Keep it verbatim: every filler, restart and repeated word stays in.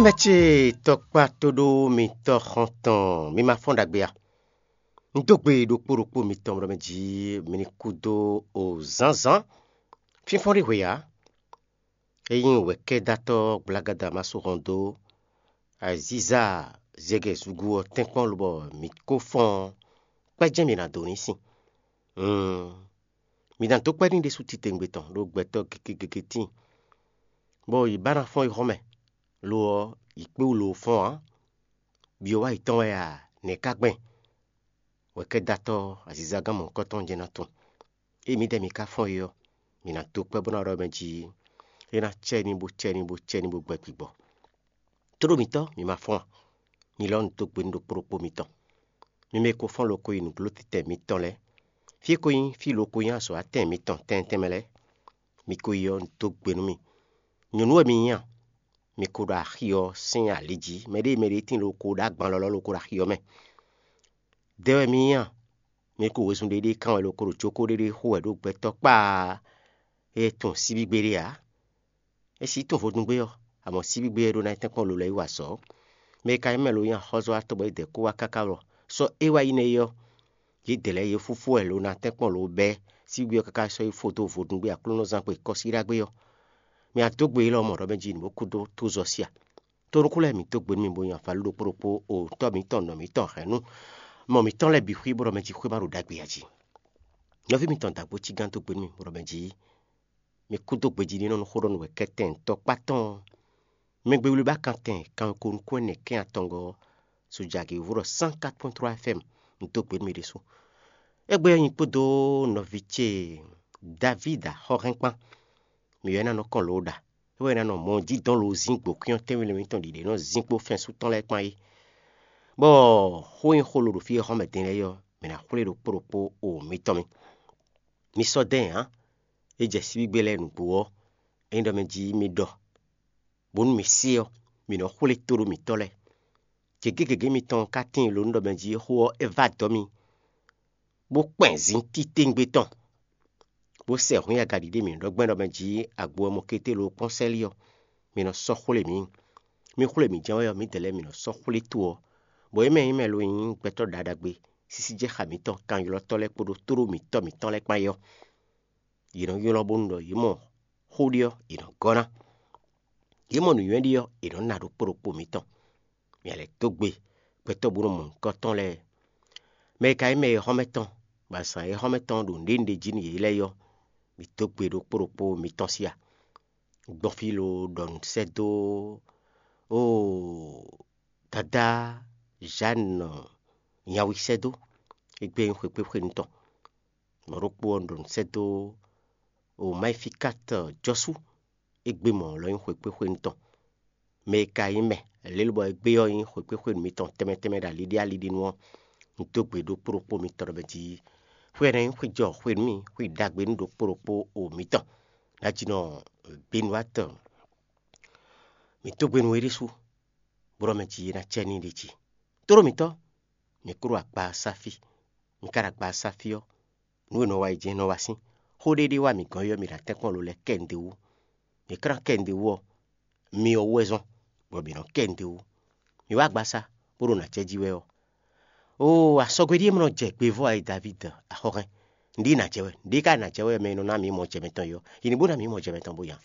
Mɛ ce tɔkpá tóɖó mitɔ́ xɔ́ntɔn, mi ma fɔ́n ɖagbe a? Un dó gbe ɖokpó ɖokpó mitɔn ɖɔ mɛ jí mi ní kú dó o zǎnzǎn. Fínfɔ́n ɖé hwe ǎ. Ényí wɛ̌kɛ́dátɔ́ gblagada ma sú hɔn dó azíza zɛgɛ zúgú ɔ́ tɛ́nkpɔ́n lobɔ mǐ ko fɔ́n ɔ́, kpɛ́ jɛ́n mǐ ná dó ní sin. Hǔn, mǐ ná dó kpɛ́ n'i ɖésú titewungbe tɔn ɖó gbɛtɔ́ gěgé gěgé tíin, bɔ yě ba ná fɔ́n yi xɔ mɛ; lo ɔ́, yě kpé wú lo fɔ́n ǎ. Byɔ̌ wá yětɔn wɛ a? Nɛ̌ ka gbɛn? Wɛ̌kɛ́dátɔ́ azizagán mɔ̌hunkɔtɔn jɛ́n ná tunwun. Ée mǐdɛɛ mi ka fɔ́n é ɔ́, mǐ ná dó kpɛ́ bó ná ɖɔ mɛ jí é ná cɛ ní bó cɛ ní bó cɛ ní bó gbɛ gbigbɔ. Tóɖó mǐtɔn, mi ma fɔ́n a? Mi lɔ un dó gbe nú ɖokpó ɖokpó mitɔn. Mi mɛ e ko fɔ́n lo ko yi nǔgló titɛ mitɔn lɛ́ɛ, fí e ko nyí fí lo ko nyí azɔ̌ atɛn mitɔn tɛnmɛ tɛnmɛ lɛ́ɛ, mi ko yi ɔ́, un dó gbe nú mi. Nyɔ̌nu wɛ mi nyí a? Mi ko ɖo axi ɔ́ sín ali jí; mɛɖée mɛɖée tíin lo ko ɖó agban lɔlɔ́ lo ko ɖo axi ɔ́ mɛ. Dɛ wɛ mi nyí a? Mi ko wezun ɖé ɖé kán wɛ lo ko ɖo jókó ɖé ɖé xo wɛ ɖó gbɛtɔ́ kpaa e tunwun síbígbe ɖé ǎ. É sixú tunwun vodúngbe ɔ́, amɔ̌ síbígbe ɔ́ ɖó ná yi tɛ́nkpɔ́n lo lɛ́ɛ yi wa azɔ̌. Mɛ e ka nyí mɛ lo nyí axɔ́zɔ́watɔ́ bɔ é dɛ kó wá káká ɖɔ sɔ́ é wá yi nɛ́ é ɔ́, yědɛɛ lɛ́ɛ yě fúfú wɛ lo ná tɛ́nkpɔ́n lo bɛ́ síbígbe ɔ́ káká sɔ́ yi fó dó vodúngbe Aklúnɔzán gbe kɔ́síɖágbe ɔ́. Mɛ a dó gbe élɔ́ mɔ ɖɔ mɛ jí nǔ bó kú dó tózɔ sí a? Tónúkú lɛ́ɛ mǐ dó gbe nú mi bó nyi avalu ɖokpó ɖokpó o Tɔ́ mǐtɔn nɔ mǐtɔn hɛ̌nnu mɔ mǐtɔn lɛ́ɛ bǐ xwí bó ɖɔ mɛ jí xwé ma ɖo ɖagbe ǎ jí. Nɔví mitɔn dǎgbó cígán dó gbe nú mì bó ɖɔ mɛ jí mi kú dó gbejí nínɔ́ nú xó ɖɔ nú wɛ kɛ́tɛn tɔkpá tɔn ɔ́. Mɛgbewlíbá kantɛn kanwekonu kún ɛnɛ kɛ́n atɔngɔ́ ɔ́, sojagěvú ɖɔ cent quatre point trois F M un dó gbe nú mi ɖésú. Égbé ɔ́ nyi kpódó nɔví ce Davíd axɔ́hɛn kpán. Mǐ wɛ ná nɔ kɔn lǒ ɖa. É wɛ ná nɔ mɔ dídɔn lozín gbǒkwín ɔ́ tɛ́nwí lɛ́ɛ mitɔn ɖiɖe nɔ zín kpó fɛ́nsú tɔn lɛ́ɛ kpán é. Bɔ xó e xó lo ɖo fí e xɔ́mɛ din lɛ́ɛ é ɔ́, mǐ ná xwlé ɖokpó ɖokpó o mitɔn mì. Mi sɔ́ dɛ́n ǎ; é jɛ síbígbe lɛ́ɛ nǔgbó ɔ́, ényí ɖɔ mɛ jí mi ɖɔ, bónú mi se ɔ́, mǐ nɔ xwlé tóɖó mǐtɔn lɛ́ɛ. Gěgé gěgé mitɔn ka tíin lo nú ɖɔ mɛ jí xó ɔ́ é vá dɔ̌ mi, bó kpɛn zin titewungbe tɔn, bó sɛ hǔn agaɖiɖe mǐ ɖɔ gbɛ́ ɖɔ mɛ jí agbo ɔ́ mɔ kété lo kpɔ́n sɛ́lí ɔ́, mi nɔ sɔ́ xwlé mǐ. Mi xwlé mǐ jɛ́n wɛ ɔ́, mǐdɛɛ lɛ́ɛ mǐ nɔ sɔ́ xwlé to ɔ́, bɔ é mɛ nyí mɛ lo nyí gbɛtɔ́ ɖaɖagbe sísí jɛ xa mǐtɔn kanylɔ́tɔ́ lɛ́ɛ kpódó tóɖó mǐtɔn mǐtɔn lɛ́ɛ kpán é ɔ́, yě nɔ ylɔ́ bónú ɖɔ yě mɔ xó ɖé ɔ́, yě nɔ gɔ́ ná; yě mɔ nǔnywɛ́ ɖé ɔ́, yě nɔ ná ɖokpó ɖokpó mǐtɔn. Mi lɛ́ dó gbe gbɛtɔ́ bó nɔ mɔ nǔkɔntɔn lɛ́ɛ. Mɛ e ka nyí mɛ e xɔ́mɛ tɔn, bɔ azǎn e xɔ́mɛ tɔn ɖo nǔɖé nǔɖé jí nú yě lɛ́ɛ é ɔ́, mi dó gbe ɖokpó ɖokpó mitɔn sí a? Gbɔn fí lo ɖɔ nǔ sɛ́ dó oo, dadá Zǎnu nyawi sɛ́ dó, é gbé nyí xwekpéxwenu tɔn. Mɔ̌ ɖokpó ɔ́ ɖɔ nǔ sɛ́ dó o Mayifikát jɔ́sú, é gbé mɔ̌ lɔ nyí xwekpéxwenu tɔn. Mɛ e ka nyí mɛ lě lobɔ é gbé ɔ́ nyí xwekpéxwenu mitɔn tɛnmɛ tɛnmɛ ɖo aliɖí aliɖínu ɔ́, un dó gbe ɖokpó ɖokpó mitɔn ɖɔ mɛ jí xwe ɔ́ ná nyí xwé jɔ xwe nú mì, xwe ɖagbe nú ɖokpó ɖokpó o mitɔn. Ná jí nɔ Benuwát, mǐ dó gbe nú we ɖésú, bó ɖɔ mɛ jí é ná cɛ ní ɖe jí. Tóɖó mǐtɔn, mǐ kúɖo akpa ɔ́ sá fí. Mi ka ɖo akpa ɔ́ sá fí ɔ́, nǔ e nɔ wa yi jɛ́n nɔ wa sín. Xó ɖé ɖé wá mǐ gɔ́n é ɔ́, mǐ ɖo atɛ́nkpɔ́n lo lɛ́ɛ kɛ nǔɖé wú. Mǐ klán kɛ nǔɖé wú ɔ́, mi ɔ́ wú wɛ zɔ́n, bɔ mǐ nɔ kɛ nǔɖé wú. Mǐ wá agbaza, bó ɖo nǎ jɛ jí wɛ ɔ́, oo, asɔgbe ɖíe mɔ jɛ gbevɔ́ ǎ é Davídi axɔ́hɛn. Nǔɖé ná jɛ wɛ, nǔɖé ka ná jɛ wɛ mɛ e nɔ ná mǐ mɔ jɛ mɛtɔn é ɔ́, yi ní bó ná mǐ mɔ jɛ mɛtɔn bó nya.